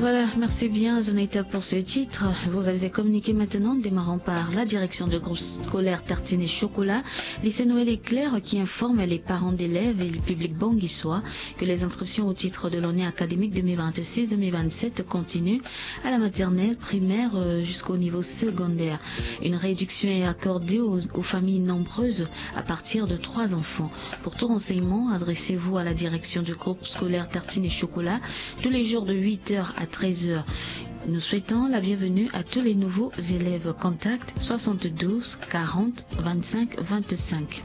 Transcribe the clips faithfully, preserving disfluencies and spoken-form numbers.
Voilà, merci bien Zonaita pour ce titre. Vous avez communiqué maintenant, démarrant par la direction de groupe scolaire Tartine et Chocolat, lycée Noël Éclair, qui informe les parents d'élèves et le public banguissois que les inscriptions au titre de l'année académique deux mille vingt-six deux mille vingt-sept continuent à la maternelle, primaire, euh, jusqu'au niveau secondaire. Une réduction est accordée aux, aux familles nombreuses à partir de trois enfants. Pour tout renseignement, adressez-vous à la direction du groupe scolaire Tartine et Chocolat tous les jours de huit heures à treize heures. Nous souhaitons la bienvenue à tous les nouveaux élèves. Contact soixante-douze quarante vingt-cinq vingt-cinq.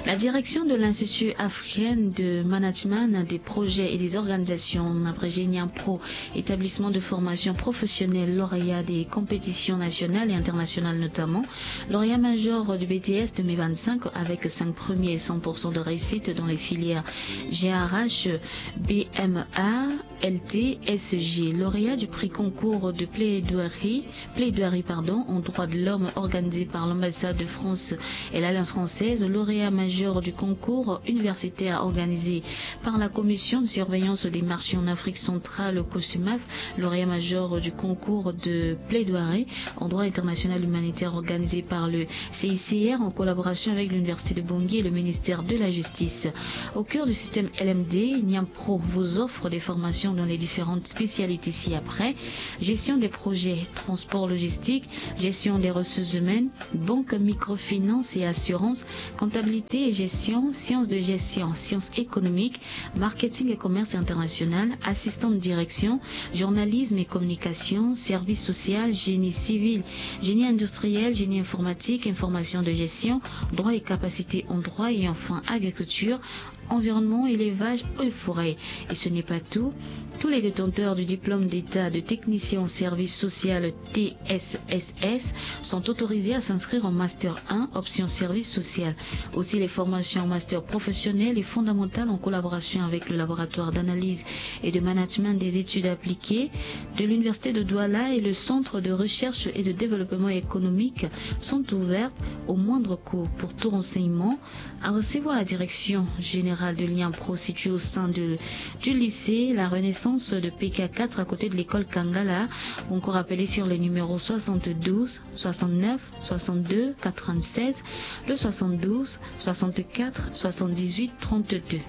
La direction de l'Institut africain de management des projets et des organisations, abrégé NIAMPRO, établissement de formation professionnelle lauréat des compétitions nationales et internationales notamment, lauréat major du B T S deux mille vingt-cinq avec cinq premiers et cent pour cent de réussite dans les filières G R H, B M A, L T, S G, lauréat du prix concours de plaidoirie, plaidoirie, pardon, en droits de l'homme organisé par l'ambassade de France et l'Alliance française, lauréat major du concours universitaire organisé par la Commission de surveillance des marchés en Afrique centrale, COSUMAF, lauréat major du concours de plaidoirie en droit international humanitaire organisé par le C I C R en collaboration avec l'Université de Bangui et le ministère de la Justice. Au cœur du système L M D, NIAMPRO vous offre des formations dans les différentes spécialités ci-après: gestion des projets, transport logistique, gestion des ressources humaines, banque, microfinance et assurance, comptabilité et gestion, sciences de gestion, sciences économiques, marketing et commerce international, assistant de direction, journalisme et communication, service social, génie civil, génie industriel, génie informatique, information de gestion, droit et capacité en droit et enfin agriculture, environnement, élevage et forêt. Et ce n'est pas tout. Tous les détenteurs du diplôme d'État de technicien en service social T S S S sont autorisés à s'inscrire en Master un, option service social. Aussi, les formations en Master professionnel et fondamental en collaboration avec le laboratoire d'analyse et de management des études appliquées de l'Université de Douala et le Centre de recherche et de développement économique sont ouvertes au moindre coût. Pour tout renseignement, adressez-vous à la direction générale de NIAMPRO située au sein de, du lycée La Renaissance de P K quatre à côté de l'école Kangala, ou encore appelez sur les numéros soixante-douze soixante-neuf soixante-deux quatre-vingt-seize, le soixante-douze soixante-quatre soixante-dix-huit trente-deux.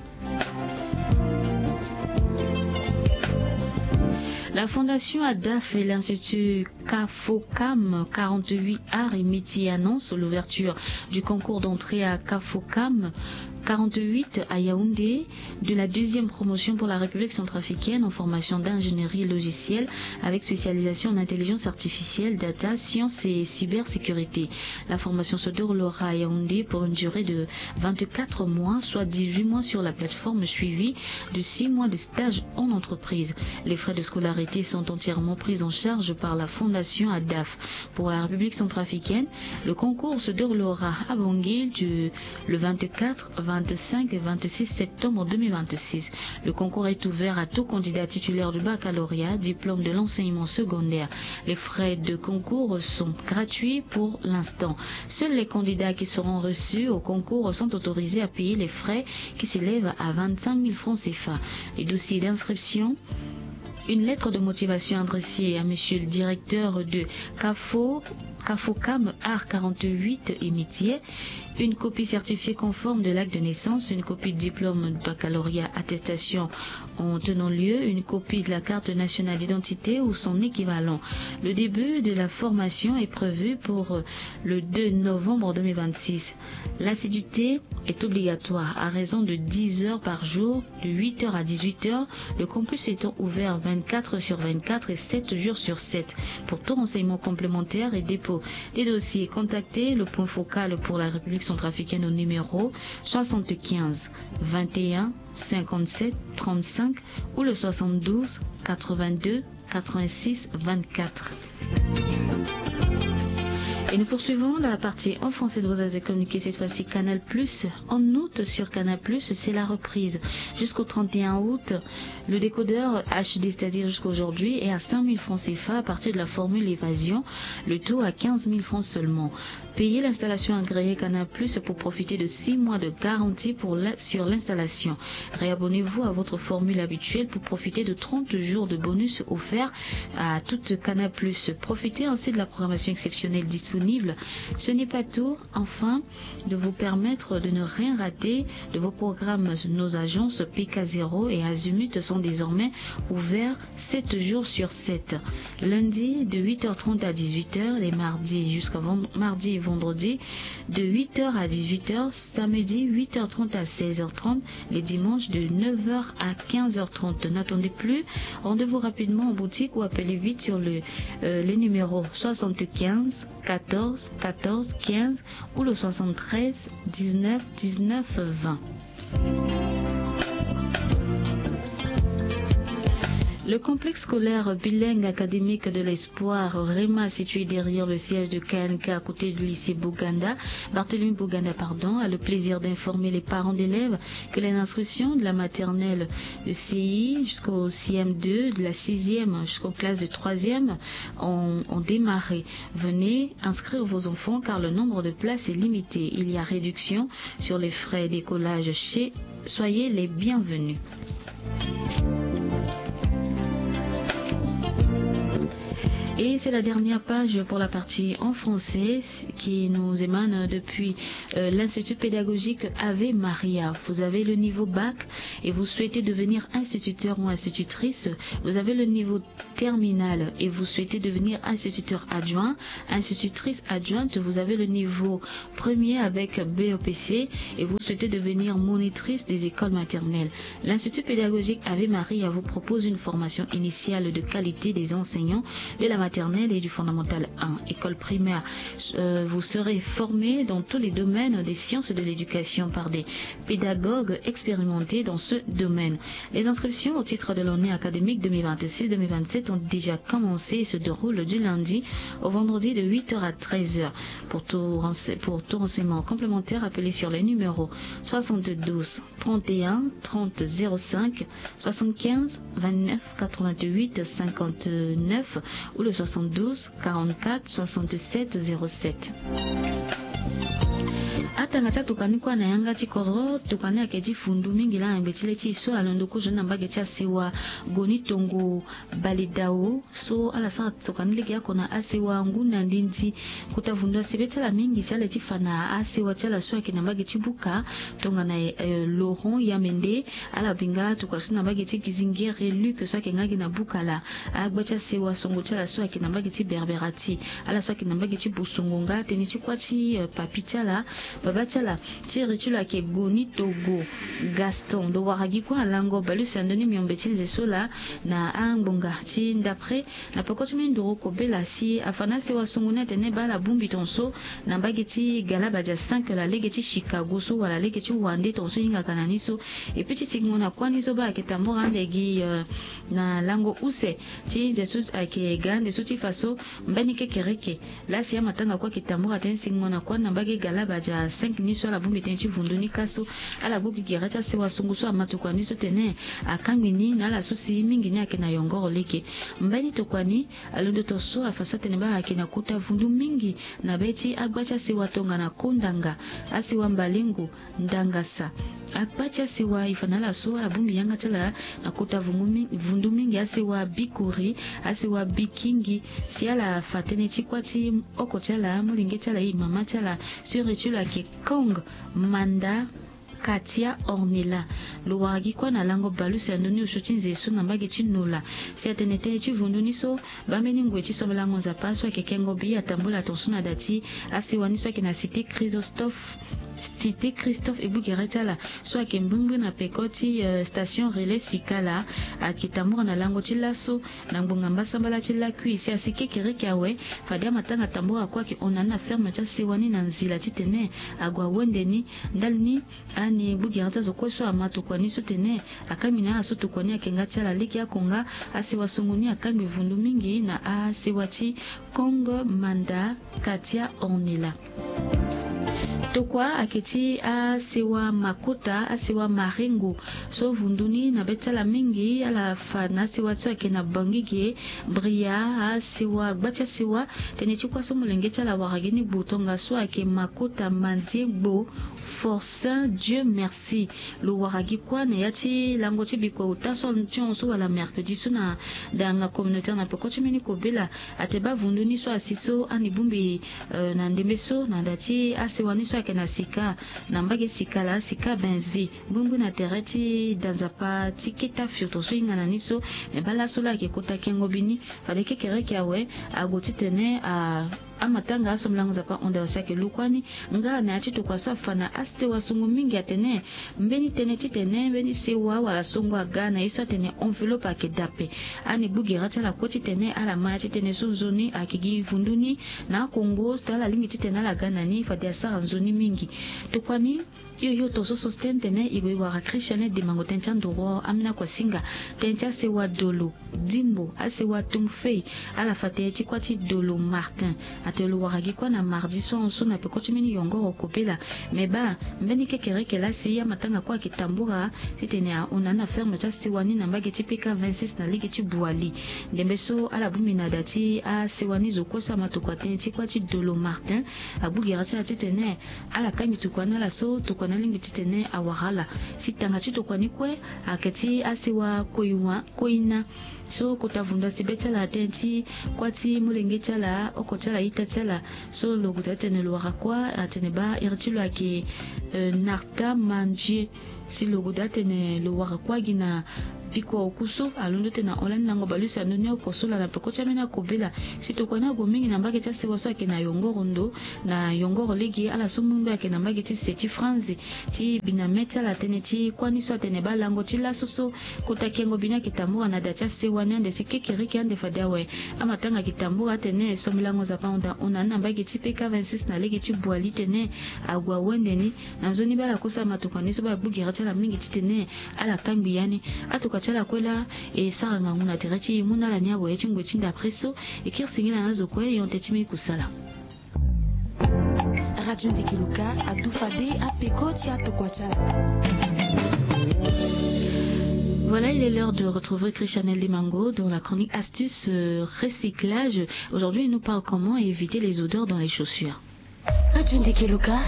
La Fondation ADAF et l'Institut CAFOCAM quarante-huit Arts et Métiers annoncent l'ouverture du concours d'entrée à CAFOCAM quarante-huit à Yaoundé de la deuxième promotion pour la République centrafricaine en formation d'ingénierie logicielle avec spécialisation en intelligence artificielle, data, sciences et cybersécurité. La formation se déroulera à Yaoundé pour une durée de vingt-quatre mois, soit dix-huit mois sur la plateforme suivie de six mois de stage en entreprise. Les frais de scolarité sont entièrement pris en charge par la Fondation ADAF. Pour la République centrafricaine, le concours se déroulera à Bangui du, le vingt-quatre, vingt-cinq et vingt-six septembre deux mille vingt-six. Le concours est ouvert à tout candidat titulaire du baccalauréat, diplôme de l'enseignement secondaire. Les frais de concours sont gratuits pour l'instant. Seuls les candidats qui seront reçus au concours sont autorisés à payer les frais qui s'élèvent à vingt-cinq mille francs C F A. Les dossiers d'inscription: une lettre de motivation adressée à monsieur le directeur de CAFO, CAFOCAM Art quarante-huit et Métiers, une copie certifiée conforme de l'acte de naissance, une copie de diplôme de baccalauréat, attestation en tenant lieu, une copie de la carte nationale d'identité ou son équivalent. Le début de la formation est prévu pour le deux novembre deux mille vingt-six. L'assiduité est obligatoire à raison de dix heures par jour, de huit heures à dix-huit heures, le campus étant ouvert vingt-quatre sur vingt-quatre et sept jours sur sept. Pour tout renseignement complémentaire et dépôt des dossiers, contactez le point focal pour la République centrafricaine au numéro soixante-quinze vingt et un cinquante-sept trente-cinq ou le soixante-douze quatre-vingt-deux quatre-vingt-six vingt-quatre. Et nous poursuivons la partie en français de vos communiqués, cette fois-ci Canal Plus. En août, sur Canal Plus, c'est la reprise. Jusqu'au trente et un août, le décodeur H D, c'est-à-dire jusqu'à aujourd'hui, est à cinq mille francs C F A à partir de la formule évasion, le taux à quinze mille francs seulement. Payez l'installation agréée Canal Plus pour profiter de six mois de garantie pour la, sur l'installation. Réabonnez-vous à votre formule habituelle pour profiter de trente jours de bonus offerts à toute Canal Plus. Profitez ainsi de la programmation exceptionnelle disponible. Ce n'est pas tout. Enfin, de vous permettre de ne rien rater de vos programmes, nos agences P K zéro et Azimut sont désormais ouverts sept jours sur sept. Lundi de huit heures trente à dix-huit heures, les mardis jusqu'à vend-, mardi et vendredi de huit heures à dix-huit heures, samedi huit heures trente à seize heures trente, les dimanches de neuf heures à quinze heures trente. N'attendez plus, rendez-vous rapidement en boutique ou appelez vite sur le, euh, les numéros soixante-quinze quatorze quatorze quinze ou le soixante-treize dix-neuf dix-neuf vingt. Le complexe scolaire bilingue académique de l'espoir, REMA, situé derrière le siège de K N K à côté du lycée Bouganda, Barthélemy Bouganda, pardon, a le plaisir d'informer les parents d'élèves que les inscriptions de la maternelle de C I jusqu'au C M deux, de la sixième jusqu'aux classes de troisième ont, ont démarré. Venez inscrire vos enfants car le nombre de places est limité. Il y a réduction sur les frais d'écolage chez Soyez les bienvenus. Et c'est la dernière page pour la partie en français qui nous émane depuis, euh, l'Institut pédagogique Ave Maria. Vous avez le niveau bac et vous souhaitez devenir instituteur ou institutrice. Vous avez le niveau terminale et vous souhaitez devenir instituteur adjoint, institutrice adjointe, vous avez le niveau premier avec B E P C et vous souhaitez devenir monitrice des écoles maternelles. L'Institut pédagogique Ave Maria vous propose une formation initiale de qualité des enseignants de la maternelle et du fondamental un. École primaire, euh, vous serez formé dans tous les domaines des sciences de l'éducation par des pédagogues expérimentés dans ce domaine. Les inscriptions au titre de l'année académique deux mille vingt-six deux mille vingt-sept ont déjà commencé et se déroulent du lundi au vendredi de huit heures à treize heures. Pour tout rense-, pour tout renseignement complémentaire, appelez sur les numéros soixante-douze trente et un trente zéro cinq, soixante-quinze vingt-neuf quatre-vingt-huit cinquante-neuf ou le soixante-douze quarante-quatre soixante-sept zéro sept. Atanga ti atokani kue na yanga ti kodro, tokani ayeke ti fundu mingi laa na ngbe ti le ti e so alondo kozo ni na mbage ti asewa Goni Tongo Balidao so ala sara tokani lege oko na asewa ngu na ndindi kota vundu asebe ti ala mingi si ala ye ti fa na asewa ti ala so ayeke na mbage ti buka tongana, eh, Laurent Yamende. Ala bi nga tokua so na mbage ti Gizingere Luc so ayeke nga gi na buka laa. Agba ti asewa songo ti ala so ayeke na mbage ti Berberati, ala so ayeke na mbage ti Bosongo nga tënë ti kuâ ti, eh, papi ti ala, baba ti ala, ti iri ti lo ayeke Goni Togo Gaston. Lo wara gi kue alango bale use na ndö ni miombe ti nze so laa na angbonga ti ndapre na peko ti minduru kobela si afa na asewa songo ni atene baa ala bongbi tongaso na mbage ti Galabadia cinq laa lege ti Chicago so wala lege ti Wande tongaso e hingaka na ni so. Et puis ti sikingo na kuâ ni so baa ayeke tambura ande gi, eh, na lango use ti nze so ayeke ga ande so ti fa so mbeni kekereke laa si amatanga kue ayeke tambura tënë sikingo na kuâ ni na mbage Galabadia cinq ni so ala bongbi tënë ti vundu ni kâ so ala gue gi gere ti asewa songo so ama tokua ni so tene akangbi ni na ala so si mingi ni ayeke na yongoro lege. Mbeni tokua ni alondo tongaso afa so atene baa ayeke na kota vundu mingi na be ti agba ti asewa tongana Kondanga, asewa Mbalengo, Ndangasa. Akpa ti asewa e fa na ala so ala bongbi yanga ti ala na kota vungu mi-, vundu mingi, asewa Bikuri, asewa Bikingi. Si ala fa tënë ti kuâ ti oko ti ala, molenge ti ala, e mama ti ala, so iri ti lo ayeke Kong Manda Katia Ornella. Lo wara gi kuâ na lango bale use na ndö ni osio ti nze so na mbage ti Nola. Si atene tënë ti vundu ni so, bambeni ngoi ti sombelango Nzapa so ayeke kengo bi atambula tongaso na da ti asewa ni so ayeke na cité Chrysostophe. Cité Christophe Ebugere ti ala so ayeke mbrimbri na peko ti station relais Sikala, ayeke tambura na lango ti laso na ngbonga mbasambala ti lakui si asi kekereke awe. Fade amatanga tambura kue ayeke hon na ni na ferme ti asewa ni na nzila titene ague awende ni. Ndali ni, ani Ebugere ti azo kue so ama tokua ni so tene akangbi na ala so tokua ni ayeke nga ti ala lege oko nga. Asewa songo ni akangbi vundu mingi na asewa ti Kongo Manda Katia Ornella. Tokua ayeke ti asewa Makota, asewa Marengo so vundu ni na be ti ala mingi ala fa na asewa ti so ayeke na Bangui ge, Bria, asewa gba ti asewa. Tënë ti kuâ so molenge ti ala awara gi ni gbu tongaso ayeke Makota Mandiegbo Forcin Dieu Merci. Lo wara gi kuâ na ya ti lango ti bikua ota so ti hon so wala mercredi so na danga communautaire na peko ti mbeni kobela. Ate baa vundu ni so asi so ani bongbi na ndembe so na da ti asewa ni so ayeke na Sika, na mbage Sikala, Sika Bensville, ngbongbon na tere ti da nzapa ti keta furto so hinga na ni so. Me baa laso laa ayeke kota kengo bi ni. Fade kekereke awe ague titene a amatanga asombela ngu nzapa hon da aussi ayeke lu kuâ ni. Nga na ya ti tokua so afa na asewa songo mingi atene mbeni tënë titene mbeni sewa wala songo aga na ye so atene enveloppe ayeke dape. Ani Ebugere ti ala kue titene ala ma ya ti tënë so nzoni ayeke gi vundu ni na akongo so ala lingbi titene ala ga na ni fade asara nzoni mingi. Tokua ni, yo yo to so so ti tene tene e gue e wara Christiane Dimango tënë ti andoro ambeni akuasinga. Tënë ti asewa Dolo, Dimbo, asewa Tungfei, ala fa tënë ti kuâ ti Dolo Martin. Atene lo wara gi kuâ na mardi so ahon so na peko ti mbeni yongoro kobela. Me baa mbeni kekereke laa si amatanga kue ayeke tambura titene ahon na ni na ferme ti asewa ni na mbage ti P K vingt-six na lege ti Bouali. Ndembe so ala bongbi na da ti asewa ni zo kue so ama tokua tënë ti kuâ ti Dolo Martin, Ebugere ti ala titene ala kangbi tokua ni ala so tokua ni alingbi titene awara ala. Si tanga ti tokua ni kue ayeke ti asewa Koiwa, Koina so kota vundu asi be ti ala tënë ti kuâ ti molenge ti ala, oko ti ala, ita ti ala. So lo gue daa tene lo wara kuâ, atene baa iri ti lo ayeke Narta Mandie. Si lo gue daa tene lo wara kuâ gi na bikua oku so alondo tene na hon lani lango baleuse ando ni oko so laa na peko ti ambeni akobela. Si tokua ni ague mingi na mbage ti asewa so ayeke na yongoro ndo, na yongoro lege, ala so mungbe ayeke na mbage ti se ti franzi. Ti bi na me ti ala tënë ti kuâ ni so atene baa lango ti laso so kota kengo bi ni ayeke tambura na da ti asewa ni ande si kekereke ande fade awe. Amatanga ayeke tambura atene sombilango nzapa hon da hon na ni na mbage ti P K vingt-six na lege ti Bouali tene ague awende ni. Na nzoni baa ala kue so ama tokua ni so baa Ebugere ti ala mingi titene ala kangbi ya ni. Atokua ti ala kue laa e sara ngangu na tere ti e mu na ala ni awe ti ngoi ti ndapre so. E kiri singila na azo kue e hon tënë ti mbeni kusala. Radio Ndekeluka adu fade apeko ti atokua ti ala. Voilà, il est l'heure de retrouver Christiane Dimango dans la chronique astuce, euh, recyclage. Aujourd'hui, il nous parle comment éviter les odeurs dans les chaussures. Radio Ndekeluka.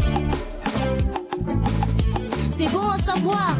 C'est bon à savoir.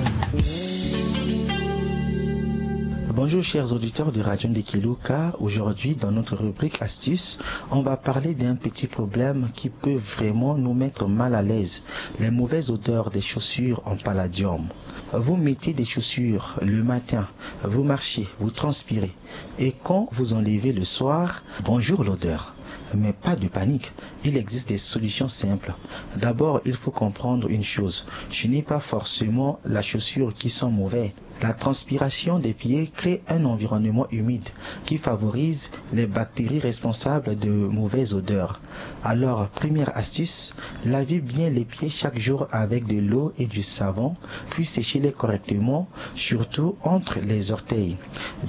Bonjour chers auditeurs de Radio Ndekeluka. Aujourd'hui, dans notre rubrique astuce, on va parler d'un petit problème qui peut vraiment nous mettre mal à l'aise, les mauvaises odeurs des chaussures en palladium. Vous mettez des chaussures le matin, vous marchez, vous transpirez. Et quand vous enlevez le soir, bonjour l'odeur. Mais pas de panique, il existe des solutions simples. D'abord, il faut comprendre une chose, ce n'est pas forcément la chaussure qui sent mauvais. La transpiration des pieds crée un environnement humide qui favorise les bactéries responsables de mauvaises odeurs. Alors, première astuce, lavez bien les pieds chaque jour avec de l'eau et du savon, puis séchez-les correctement, surtout entre les orteils.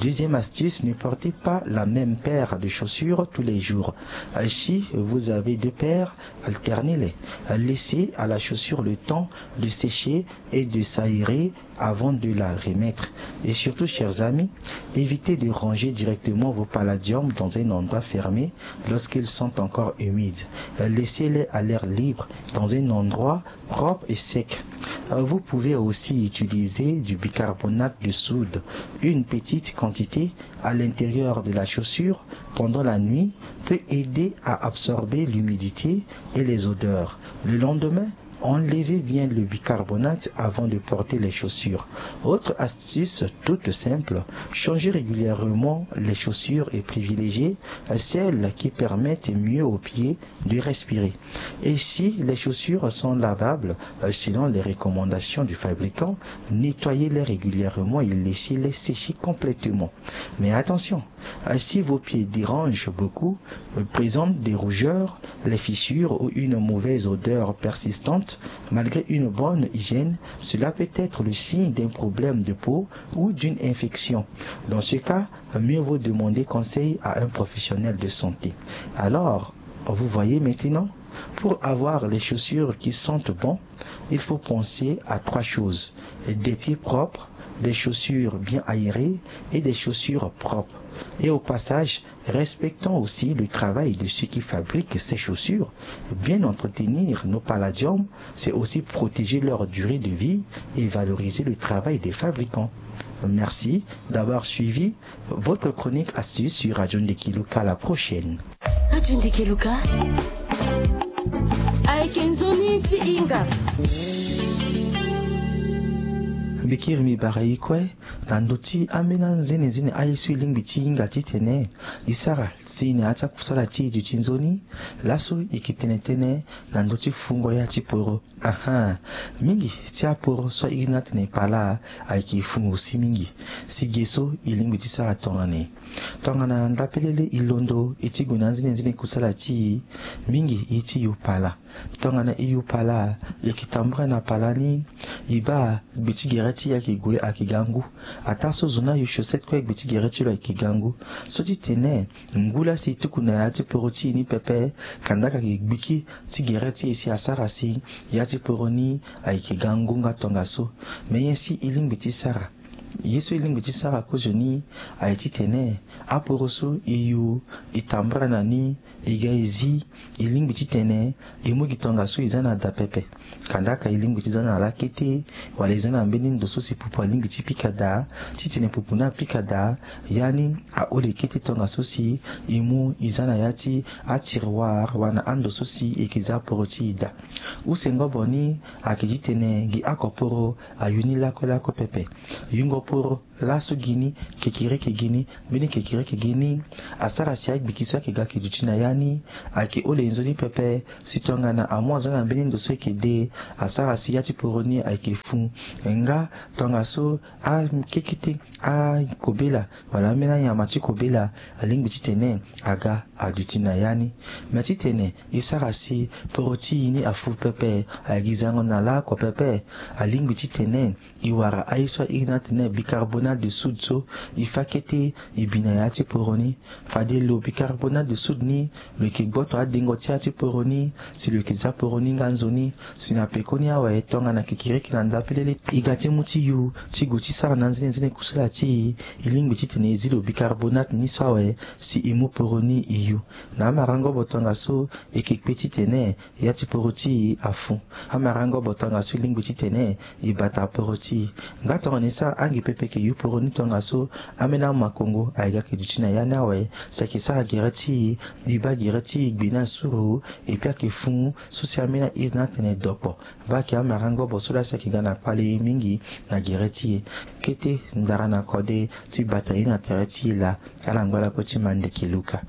Deuxième astuce, ne portez pas la même paire de chaussures tous les jours. Si vous avez deux paires, alternez-les. Laissez à la chaussure le temps de sécher et de s'aérer avant de la remettre. Et surtout, chers amis, évitez de ranger directement vos palladiums dans un endroit fermé lorsqu'ils sont encore humides. Laissez-les à l'air libre, dans un endroit propre et sec. Vous pouvez aussi utiliser du bicarbonate de soude. Une petite quantité à l'intérieur de la chaussure pendant la nuit peut aider à absorber l'humidité et les odeurs. Le lendemain, Enlevez bien le bicarbonate avant de porter les chaussures. Autre astuce toute simple, changez régulièrement les chaussures et privilégiez celles qui permettent mieux aux pieds de respirer. Et si les chaussures sont lavables, euh, selon les recommandations du fabricant, nettoyez-les régulièrement et laissez-les sécher complètement. Mais attention, euh, si vos pieds dérangent beaucoup, euh, présentent des rougeurs, les fissures ou une mauvaise odeur persistante, malgré une bonne hygiène, cela peut être le signe d'un problème de peau ou d'une infection. Dans ce cas, mieux vaut demander conseil à un professionnel de santé. Alors, vous voyez maintenant, pour avoir les chaussures qui sentent bon, il faut penser à trois choses. Des pieds propres, des chaussures bien aérées et des chaussures propres. Et au passage, respectons aussi le travail de ceux qui fabriquent ces chaussures. Bien entretenir nos palladiums, c'est aussi protéger leur durée de vie et valoriser le travail des fabricants. Merci d'avoir suivi votre chronique astuce sur Radio Ndekiluka. À la prochaine. Radio Ndekiluka. Aye ke nzoni ti hinga. Mbikiri mi bara i kue na ndö ti ambeni anzenenzene aye so e lingbi ti hinga titene e sara si na ya ti akusala ti e duti nzoni. Laso e yeke tene tënë na ndö ti fungo ya ti poro. Ahan. Mingi ti aporo so a iri ni atene pala ayeke fungo si mingi. Si ge so e lingbi ti sara tongana nyen? Tongana ndapelele e londo e ti gue na anzenenzene kusala ti e, mingi e ti yo pala. Tongana e yo pala, e yeke tambula na pala ni, e baa gbe ti gere ti e ayeke gue ayeke ga ngu. Ataa so zo ni ayo chaussette kue gbe ti gere ti lo ayeke ga ngu. So ti tene ngu laa si e tuku na ya ti poro ti e ni pepe, kanda ayeke gbiki ti gere ti e si asara si ya ti poro ni ayeke ga ngu nga tongaso. Me nyen si e lingbi ti sara? Ye so e lingbi ti sara kozoni aye titene aporo so e yo e tambula na ni, e ga e zi, e lingbi titene e mu gi tongaso e za na da pepe. Kanda aka e lingbi ti za na lakete, wala e za na mbeni ndo so si pupu alingbi ti pika daa, titene pupu ni apika daa, ya ni ahole kete tongaso si e mu e za na ya ti atiroir wala na ando so si e yeke za poro ti e daa. Use ngobo ni ayeke titene gi oko poro ayo ni lakue lakue pepe. Yungo poro laso gi ni, kekereke gi ni, mbeni kekereke gi ni asara si agbiki so ayeke ga ayeke duti na ya ni ayeke hole nzoni pepe. Si tongana amu aza na mbeni ndo so ayeke de, asara si ya ti poro ni ayeke fu. Nga tongaso akekete akobela wala ambeni anyama ti kobela alingbi titene aga aduti na ya ni. Me titene e sara si poro ti e ni afu pepe, ayeke gi zango na laoko pepe, alingbi titene e wara aye so a iri ni atene bicarbonate de soude so, e fâ kete e bi na ya ti poro ni. Fade lo bicarbonate de soude ni lo yeke gboto adengo ti ya ti poro ni si lo yeke za poro ni nga nzoni. Si na pekoni awe, tongana kikiriki na ndapelele e ga ti mu ti yo ti gue ti sara na anzenenzene kusala ti e, e lingbi titene e zi lo bicarbonate ni so awe si e mu poro ni e yo. Na amarango bo tongaso e yeke kpe titene ya ti poro ti e afu. Amarango bo tongaso e lingbi titene e bata poro ti e. Nga tongana e sara ange pepe e yeke yo poro ni tongaso, ambeni amakongo ayeke ga ayeke duti na ya ni awe, si ayeke sara gere ti e, e baa gere ti e gbe ni asuru, e pia ayeke fu so si ambeni a iri ni atene dokpo. Baa ayeke amarango bo so laa si ayeke ga na kpale mingi na gere ti e. Kete ndara na kode ti bata ye na tere ti e laa. Ala ngba lakue ti mandeke luka.